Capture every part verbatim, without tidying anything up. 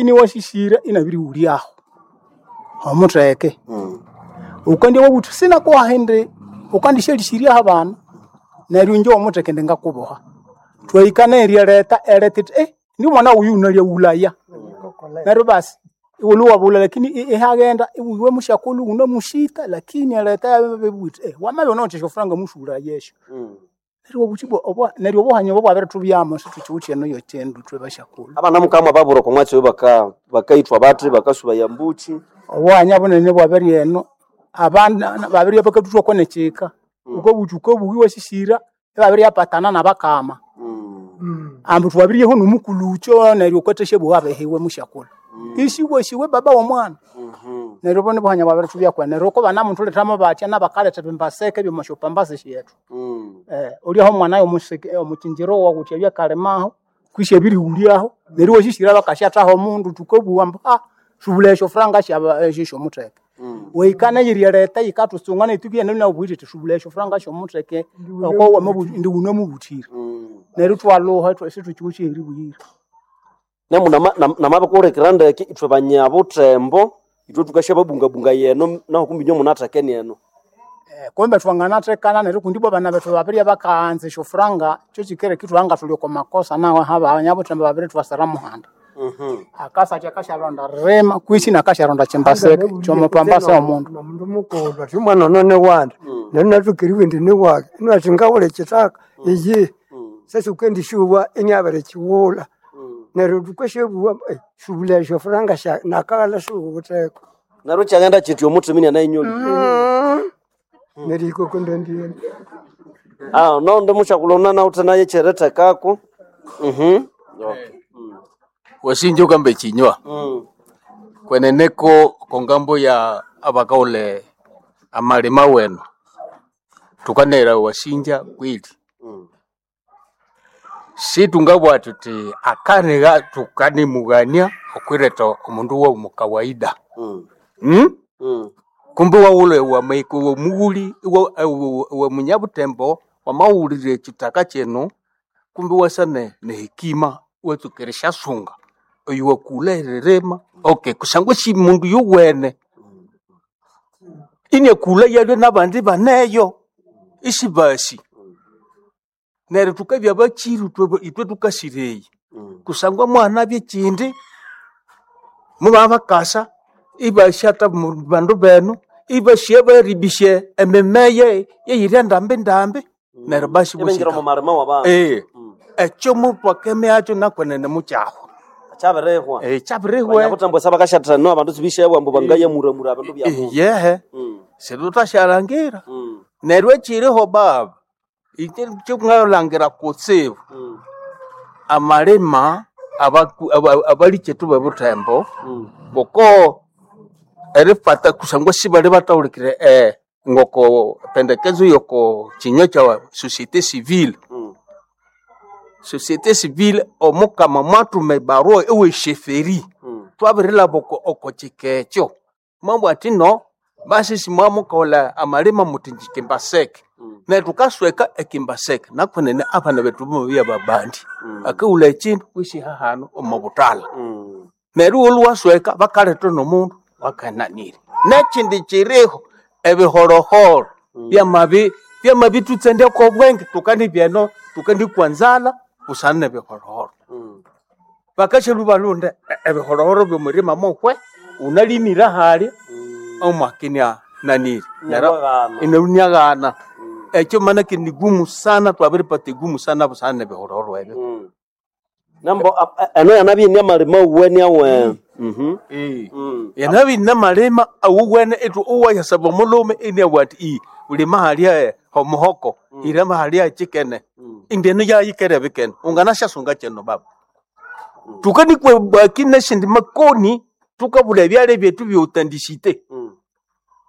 Iniwasisira inabirighulyaho omutheke. Ukandya wabuthi sinakuha indi ukandishalhisiryaho abana neryo inje omutheke indi ngakuboha. Twahika nerya ereta ereta ithi eh ndi omwana wuyu wunalyaghulaya. Neryo basi iwulwe iwabulha lakini ihaghenda iwe musyakulhu wunamusyita lakini ereta yabibugha yithi eh wamabya wunawithe esyofuranga musughulaya esyo. Neryo obuthi ibwa neryo obuhanya obo bwabirithubyamu isithukiwithe eno yekyindu ithwe basyakulhu. Abana mukama babura okwa mwatsi oyo baka bakayithwa bathi bakasubaya mbuki. Obuhanya bunene bwabiri eno abana babiribya bakathuthwako nekyika. Wukabuthi wukabugha iwasisira ibabiriyapatana nabakama. Ambu thwabiriyaho nomukulhukyo neryo wukathasyabuwa abihiwe musyakulhu. Isiwasi we baba womwana. Neryo obo nibuhanya bwabirithubyaku neryo ko banamuthulethamo batya nabakaletha ebimbaseke ebyomwasyopambasi syethu. Eh, olyaho omwana yomusiki omukyinjiro wawu wuthi abye akalimaho kwisi abirighulyaho neryo iwasisira bakasyathaho omundu thukabugha ambu ah subulha esyofuranga syaba esyomutheke. Wahika neyiri ereta yikathusunga neyo ithukigenda inabugha yithi subulha esyofuranga syomutheke oko wamabu indi wunamubuthira. Neryo ithwalhuha isithukiwithe aheribuyira. Namu namabikuhulikirira ndeke ithwe banyabuthembo ithwe thukasyababungabungaya eno nahu kumbi inywe munathekene eno. Eh, kumbe thwanganathekana neryo kundi ibwa abana bethu babiribya bakaghanza esyofuranga kyokyikireka ithwabya ngathuli okwa makosa nahu abanyabuthembo babirithwasira muhanda. Akasa athi akasyaronda ririma kwisi nakasyaronda kyimbaseke kyomupambase omundu. Nomundu mukulhu athi omwana ono niwandi neryo inathoka eribugha indi niwage inathi ngawulha ekyithaka iyihi sasa wukendisyowa inabirikighulha neryo thukasyabuwa subulha esyofuranga sya nakaghalha siwuwitheko. Neryo kyaghenda kyithya omuthima inianayinyolire. Nerihika oko ndambi Ah, nondi musyakulhu unanawithe nayo ekyerithekako. Mhm. Okay. Wasinja ukamba ekinywa Mm. kweneneko kongambo ya abakaghulha amalima wenu thukanayira wasinja kweli Mm. situngabugha thuthi akaniha tukanimughania okwiretha omundu womu kawaida Mm. hmm? Mm. Kumbe iwaghulha wamaika omughuli iwe munyabuthembo wamawulira ekyithaka kino kumbe iwasa ne nehekima iwatsuka erisyasunga oyo wakulha eririma okay kusangwa esi mundu yuwene iniakulha yalwe nabandi baneyo isibasi neryo thukabya bakyiru ithwe ithwe thukasira eyi Mm. kusangwa mwanabya ekyindi mubabakasa ibasyatha mu bandu benu ibasya baribisya emimeye yeyiri ndambi ndambi neryo basi Ibingira omu bosika malima wabandu. eh Mm. ekyo mutwakemyakyo nakwenene mukyahwa Kyabirihwa. eh kyabirihwe Abanyabuthembo sabakasyathana eno abandu sibisyawa ambu bangayamuramura ebindu bya mundu. yehe Mm. situthasyalangira Mm. neryo ekyiriho baba ikye kyungalhangira kutsibu Mm. amalima abaku- aba- abalikyetu bebuthembo Mm. ngoko erifata kusangwa sibali bathahulikire eh, ngoko pendekezo yoko kinywa kya société civile Mm. société civile omukama mwathuma ebarua ewe sheferi Mm. twabirilhaba oko oko kika ekyo mwabugha athi no basi simwamukaghulha amalima muthi njikimbaseke Mm. neryo thukasweka ekimbaseke nakwenene abana bethu bamabya babandi Mm. akaghulha ekindu kwisi hahanu omo buthalha Mm. neryo iwolhu wasweka bakaletha nomundu wakananire nekyindi kyiriho ebihorohoro Mm. byamabi byamabithutsendyako obwenge thukandibya eno thukandikwa nzalha busana nebihorohoro Mm. bakashalhu balhunde e- ebihorohoro byomurima muhwe unalimire ahalya Mm. omwakinya nanire neryo Inyawaghana. inaniaghana Mm. ekyo manake ni gumu sana twabiripata egumu sana busana nebihorohoro ebyo Mm. Nambo ap- e- eno yanabya ini amalima wuwene awe. Mhm. Eh. Mm. yanabi namalima awuwene ethu uwayasaba omulhume iniabugha athi i ulima halya omuhoko irema halya kyikene Mm. indi eno yayikere bikene unganasyasunga kyino baba thukanikwa baki nesindi makoni thukabulha ebyalya byethu byoutandisite Mm.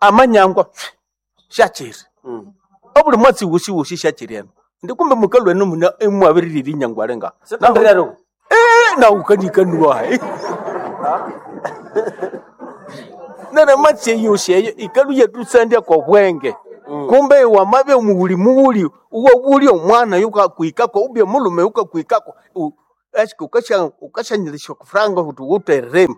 amanyangwa pfi, syakyiri Mm. obuli mwatsi wosi wosi syakyiri eno ndi kumbe mukalwa eno muna imwabiririra inyangwa linga Sitondirero. naukanikanwa nere matsi eyosi eyo ikalu yathutsandya kobwenge kumbe wamabya omughuli mughuli uwabulya omwana yukakwikako ubya omulhume yukakwikako u- Eske ukasha ukashanyirisha kufranga kuti wutererema.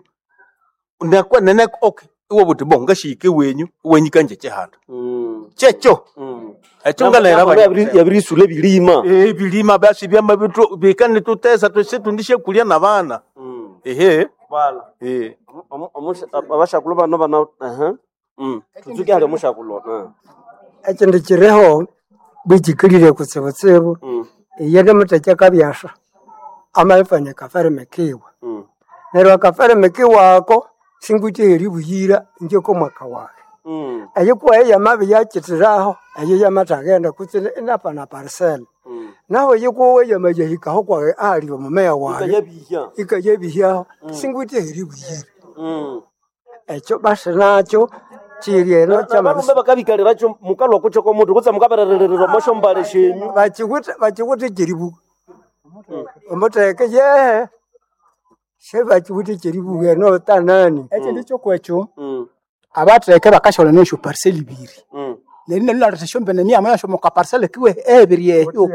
Nakwa nene okay. Iwe buti bo ngashike wenyu wenyu kanje chihanda. Mm. Checho. Mm. Echo ngalera Nambo yabirisula ebilima. Eh bilima basi byama bitu bikane tutesa tusetundishe kulia na bana. Mm. Ehe. Bala. Eh. Abashakulwa bano bana aha. Mm. Tuzuke hali omushakulwa. Ah. Ekindi kiriho bwikikalire kutsibutsibu Mm. iye nimutheke kabyasha amalifanya akafereme kiwe Mm. neryo akafereme kiwe ako singwithe eribuyira inje komwaka wayi Mm. eyikuwayo yamabiyakithiraho eyo yamathagenda kutse inapana parisela Mm. naho yikuwe yamayahikaho kwayi ahali omumeya wayi Ikayabihya. ikayabihyaho singwithe eribuyira Mm. ekyo basi nakyo kiri eno Abarume bakabikaliracho mukalwa kucho komutu kutsa mukaberererera omoshombale shenyu. bakiwithe bakiwithe kyeribuga omutheke yehe sebakiwithe kyeribuga eno tanani Ekindi kyokwekyo Mm. abatheke bakasholana esyo parcel ibiri. Mm. Neryo nalulaletha esyombene myamo yasyo omu kaparcel kiwe ebiri eyo.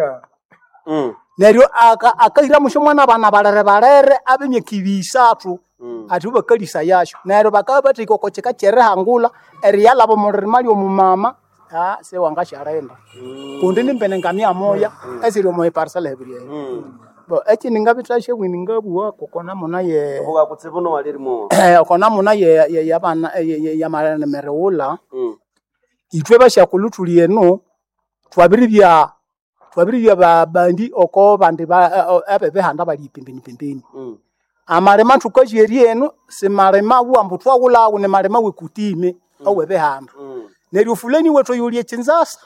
Mm. Neryo aka- akahiramu syomwana abana balere balere ab'emyaka ibiri isathu Mm. athi bakalisa yasyo. Neryo bakabya bathahika oko kika kyerihangulha eriyalhaba omu ririma ly'omumama ah, siwangasyalinda. Kundi nimbene ngamyamoya esiri omu parcel ebiri eyo. Mm. Bo ekindi ngabithasya bwini ngabuwa koko namuna ye Obuga kutsibu no walirimo. oko namuna ye ye- yabana ye- ye- yamalemerighulha Mm. ithwe basyakulhu thuli eno twabiribya twabiribya babandi oko bandi ba- abebihanda bali pembeni pembeni Mm. amalima thukasya eno simalima buwa ambu thwaghulhawu nimalima wekutime awebihanda Mm. neryo fulani wethu oyuli ekinzasa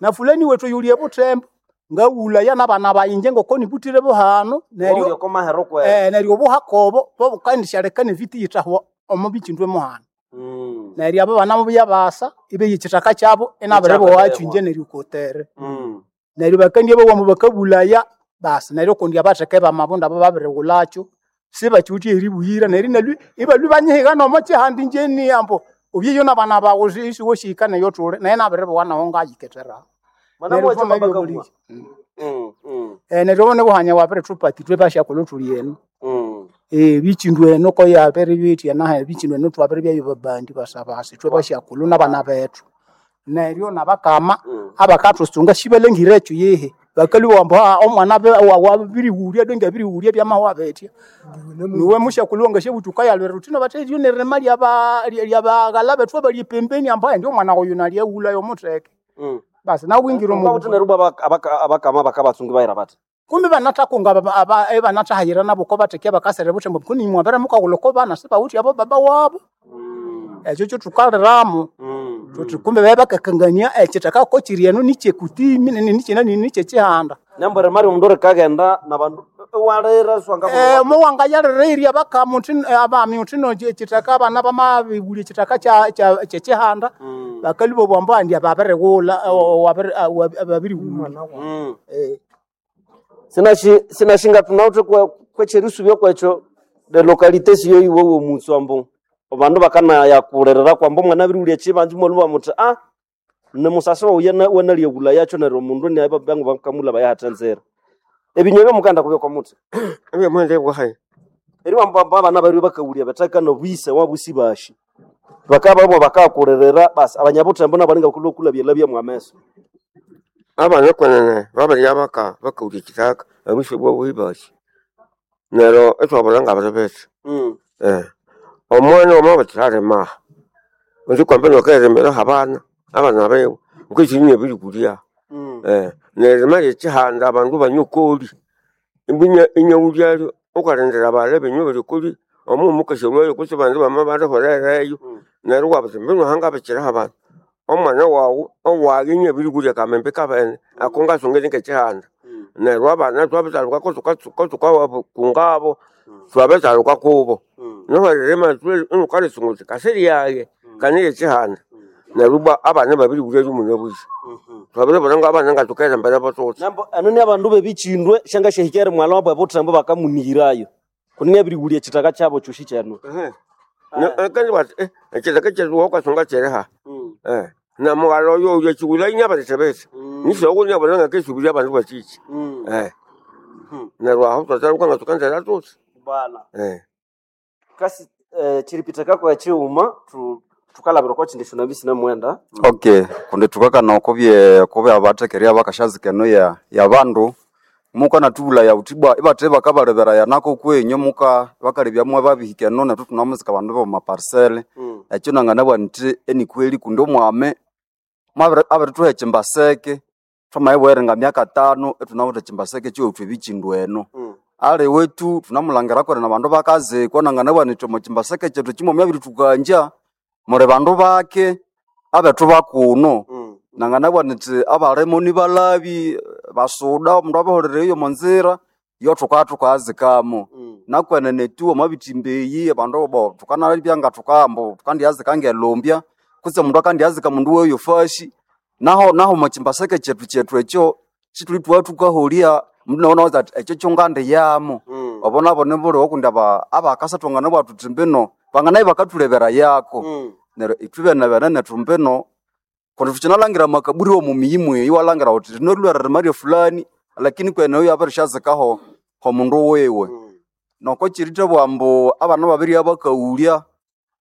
na fulani wethu oyuli ebuthembo ngaghulaya nabana bayi inje ngoko nibutire buhanu Neryo neryo komahero kwe. eh, neryo obuhakobo bobukandishaleka neviti yithahwa omu bikindu emuhano Mm. neryo abo bana mubuya basa ibeya ekithaka kyabo inabiribowacho inje neryo kotere Mm. neryo bakandya bawambu bakabulaya basi neryo kundi abatheke bamabunda abo babirighulakyo sibakiwithe eribuyira neryo inalwi ibalwi banyihiga nomo kihanda inje ni ambu obyeyo nabana bawu isiwosyihika neyo thuli naye nabiribowa naho ngayikethera Mana neryo mwacho vamabya babakabwa. obuliki Mm. Mm. Eh, neryo obo nibuhanya wabirithupa ithwe basyakulhu thuli eno Mm. Eh, bikindu eno koyabiri bitya nahe bikindu eno twabiribyayo babandi basabasa ithwe basyakulhu nabana bethu neryo nabakama Mm. abakathusunga sibalengire ekyo yehe bakalhuwa ambu "Ah, omwana wabirighulya donge abirighulya byamahwa bitya niwe musyakulhu wangasyabuthi ukayalwira uthi no bathe eryo nirima lyaba lyabaghala bethu abali pembeni ambu "Ai, ndi omwana oyu nalyaghulhayo omutheke Mm. basi nawe wingira omu Mukawuthi neryo bwa abakama bakabatsungi bayira bathi. kumbe banathakunga ebanathahayira nabo ko batheke bakasere buthembo kuni mwabere mukaghulha oko bana sibawithe abo baba wabo Mm. ekyo kyothukaliramu Mm. thuthi kumbe babe bakakangania ekithaka ko kiri eno nikyekutimi nikyinani nikyekihanda Nambwere mari omundu rikagenda nabandu walira swanga Eh, muwangayalira abakama uthi abami uthi no ekithaka abana bamabibulya ekithaka kya- kya- kyekihanda Mm. bakalhuba bwambu andi ababirighulha babirighulya Mm. Sinashi sinashinga tunawuthe kwe kwecherisubya kwekyo de localité siyo iwe womutsu ambu abandu bakanayakulirira kwambu omwana abirighulya ekibanza imwalhuba muthi ah ni musasi wawu yana- wanalyaghulha yakyo neryo omundu niabangu bakamulha bayahatha ebinywa byomukanda kubya kwa muthi Ebyomuhendo bwahayi eri wamba abana bariwe bakawulya bethaka nobwise wabusi bashi bakaba bakakulirira basi abanyabuthembo nabalinga kulwa byela byamwameso abana kwenene babirya baka bakawulya ekithaka abisi bwabuhi basi neryo ithwabulha ngabiri bithi mm. eh omwana wamabithiralima undi kwambi nokerimira habana abana biwe ukishinya ebirikulya Mm. eh nerima lyekihanda abandu banywa koli imbinya inyawulyalyo ukalindira bala binywa biri koli omu mukashalwayo kutse bandu bama baliholereyo Mm. neryo wabuthi mbinu hangabikiraho abandu omwana wawu owayi inyabirikulya kamembe kabene ako ngasungire ngekihanda Mm. neryo abana twabithalukako tukawakungabo twabithaluka kubo Mm. noho ririma inukalisunga uthi kasiryaye kani lyekihanda neryo bwa abana babirikulya lyomuna bwisi Mhm. twabiribona ngabana ngathukera mbere botsotsi Nambo ano ni abandu bebichindwe shanga shehikere mwala wabwe buthembo bakamunihirayo kuni nabirighulya ekithaka kyabo kyoshi kyenu kandi bati ekithaka kyethu wakasunga kyiriha mm. na mughala oyo oyo ekiwula inya batithebese Mm. nisoko nyabona ngakesubirya abandu bakiki Mm. eh Neryo aho twathaluka nga thukanzera thuthi. Bala. Eh. Kasi eh, chiripitaka kwa chiuma tu tukalabira kwa chindi shona bisi namwenda. Okay, kundi thukakana okubye okubya abathekerya bakashazika eno ya ya bandu muka natubulaya uthi bwa ibathe bakabalebera yanako kwenyu muka bakalebya mwe babihika eno nethu thunamuzika abandu b'omu parcel Mm. ekyo nanganabugha nthi enikweli kundi omwame mwabiri abirithuha ekimbaseke thwamayibwera nga myaka tano ithunawithe ekimbaseke kyiwethu ebikindu eno Mm. ali wetu thunamulangira kweri nabandu bakazikwa nanganabugha nithi omo kimbaseke kyethu kimwami abirithukangya muli bandu bake abethu bakuno Mm. nanganabugha nithi abalimo nibalabi basuda omundu abaholere eyo omonzira yo thukaa thukazikamo Mm. nakwenene tu omwabithimba eyi abandu bo thukanabya nga thukambo thukandyazika ngelumbya kutse omundu akandyazika mundu weyo fashi naho naho omukimbaseke kyethu kyethu ekyo sithuli thwa thukaholya mundu nawu nawuza athi ekyo kyongandiyamo Mm. obo nabo nibuliwo kundi aba abakasa thwanganabugha thuthi mbino banganayi bakathulebera yako Mm. neryo ithwe bene bene nethu mbino kundi thukyinalangira amakaburi omu miyi mweyi iwalangira wuthi rino lwere rimarye fulani lakini kwene oyo abirishyazikaho homundu wiwe Mm. noko kirithabugha ambu abana babiri abakaghulya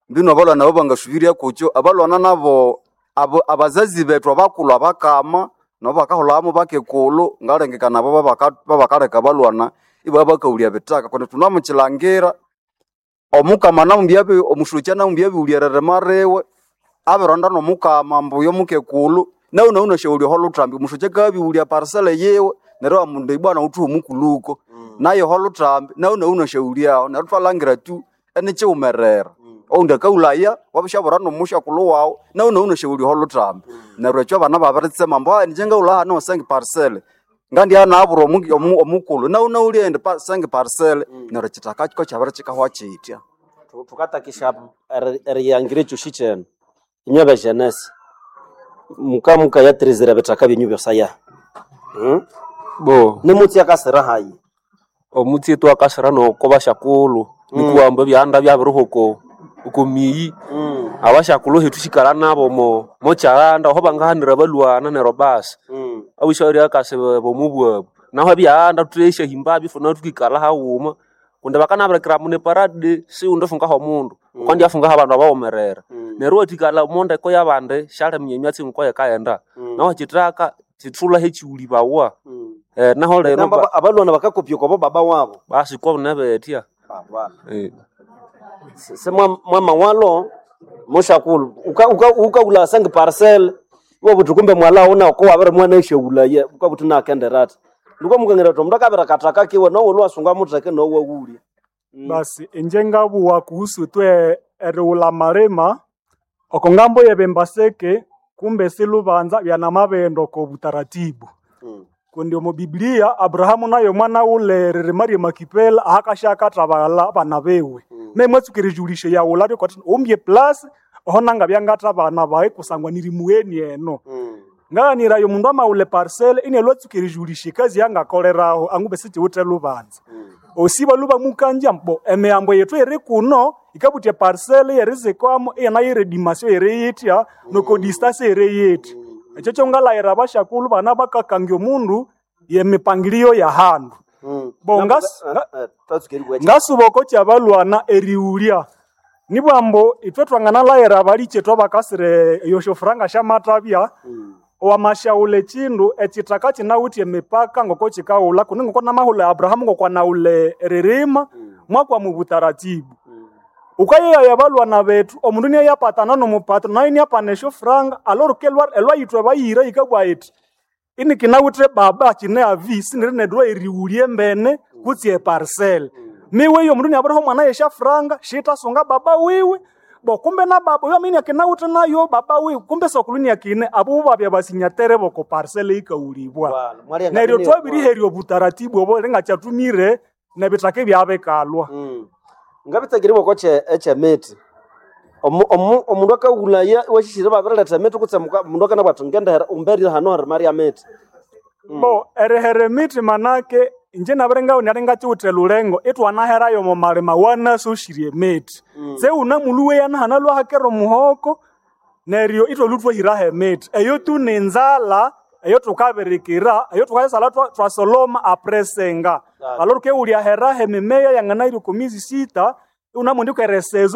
mbino abalwana abo bangasubirya kukyo abalwana nabo abo abazazi bethu abakulhu abakama nabo bakaholhamo bakekulhu ngalengekana abo babaka- babakaleka abalwana ibabya bakaghulya bithaka kundi thunamukilangira omukama namumbya omusokya namumbya abighulya eririma riwe abironda nomukama ambu oyo mukekulhu nawu nawu nasyaghulya oholuthambi omusokya kabighulya parcel yiwe neryo amundu ibwana wuthuha omukulhuko naye oholuthambi nawu nawu nasyaghulyaho neryo thwalangira tu enikiwumerera oundi akaghulaya wabishabura nomusyakulhu wawu nawu nawu nasyaghulya oholuthambi neryo ekyo abana babiritsema ambu "Ah, inje ngaghulha hano sengi parcel ngandya nabura omu- omu- omukulhu nawu naghulya endi pa- sengi parcel neryo ekithaka ko kyabirikikahwa kyitya Tu- Tukatakisha eri- eriyangira ekyoshi kyenu. Inywe bejenesi. Muka mukayatirizira bithaka byenyu byosaya. Mm. Bo Nimutsi akasira hayi. omutsi twakasira noko bashakulhu nikuwamba ebyanda byabiriho oko oko miyi Mm. abashakulhu hethu sikala nabo mo mokyalanda aho bangahanira balwana neryo basi Mm. abishauri akasi bomubwabu naho ebyanda thuthesyahimbabyo ifuna thukikalha haghuma kundi bakanabirikira mune parade siwundi fungaho omundu ukandya afungaho abandu abawumerera Mm. neryo wathikala omondeko yabandi syaliminya emyatsi ngoko yikaghenda naho kyithaka kithulaho ekiwulibawa Mm. eh, naho lero Namba ba- abalwana bakakopya kwabo baba wabo. basi kwabune betya Baba. Eh. Se mwama walo mushakulu uka uka ukaula sangi parcel iwe buthi kumbe mwala una ko wabere mwana eshaula ye ukabuthi nakenderata ndiko mukengera to mndu akabira kataka kiwe nowo lwasunga mutheke nowo wulya Basi inje ngabuwa kuhusu twe erighulha malima oko ngambo yebembaseke kumbe silubanza byanamabendo oko butaratibu kundi omu Biblia Abrahamu nayo mwana wule ririma rye Makipela ahakashakathabala abana biwe mm. mwatsuka erijulisho yaghulha ryokwathi umbye plus oho nangabya ngathabana bayi kusangwa nirimugheni eno ngaghanirayo omundu amawulha eparcel inalwa atsuka erijulisha ekazi yangakoleraho angube sikiwithe lubanza osiba lubamukanja mbo emiyambo yethu eri kuno ikabuthya eparcel yerizikwamo iyana yeredimasyo yeriyitya nokodistasi eriyitya ekyo kyongalayira abashakulhu bana bakakangya omundu yemipangilio ya handu bo ngas- nga- ngasuba oko kyabalwana erighulya nibwambo ithwe twanganalayira abalikyetu abakasire eyosyofuranga syamathabya wamashaghulha ekindu ekithaka kinawithe emipaka ngoko kikaghulha kundi ngoko namahulha Abrahamu ngokwanawulha eririma mwakwama obutaratibu ukayeyaya abalwana bethu omundu niyayapatana nomupatro nayo iniyapana esyofuranga alorike elwayithwa bayira yikabugha yithi inikinawithe baba kine avi siniri nedwa erighulya embene kutsi eparcel miwe iyo mundu niabiriha omwana yesyafuranga shitasunga baba wiwe bo kumbe na baba oyo amini akinawithe nayo baba wiwe kumbe sokulu niakine abo babya basinyatere boko parcel yikawulibwa neryo twabiriherya obutaratibu obo ringakyatumire nebithaka ebyabikalwa ngabitsakire boko ekyemiti omundu akaghulaya washishire babiriletha emiti kutse muka- mundu akanabwira athi ngendehera umberire hano harima rya miti bo erihere emiti manake inje nabiri ngawundi ngakiwithe lulengo itwanaherayo omo malima wanasosirye emiti tse wunamulhuwe yanahana lwahakera omuhoko neryo itwalhu twahiraho emiti eyo tu ninzalha Eyo tukabirikira, eyo tukayisala twa- twasoloma apresenga. Alo tukeulya heraho emimeya yanganahira oko miezi sita, unamundi kweresezo.